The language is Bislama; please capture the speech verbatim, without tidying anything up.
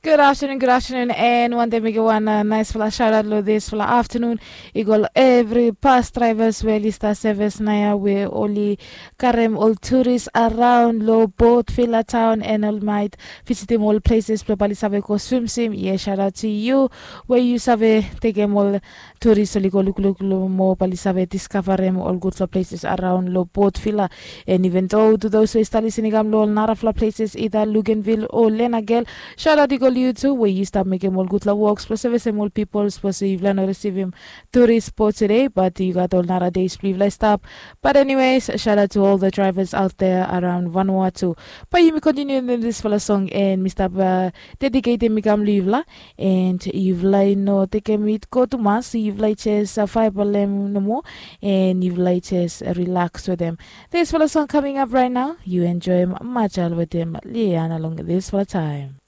Good afternoon, good afternoon, and wantaim mekim wan uh, naisfala shoutout lo disfala afternoon. I go lo evri bus drivers we oli stap sevis naia we oli karem ol turis araun lo Port Vila town and ol mait visitim ol places blong bali save go swimswim. Yes, shoutout to you we yu save tekem ol turis oli go lukluk lo mo bali save diskavarem ol gudfala places araun lo Port Vila. And even though to those we stap lisin i kam lo ol narafala places ida Luganville o Lenagel, shoutout i go lo yu tu we yu stap mekim ol gudfala wok. Sapos sevisem ol pipol, sapos yufala no risivim turis po tude, bat yu gat ol nara days blong yufala i stap. But anyways, shoutout to all the drivers out there around Vanuatu. Bai yumi kontiniu long disfala song and mi stap uh, dediketim i kam long yufala. And yufala i no tekem it go tumas, yufala i jes uh, faibalem nomo. And yufala i jes uh, relax wetem disfala song coming up right now. Yu enjoim Majal wetem Liana long disfala taim.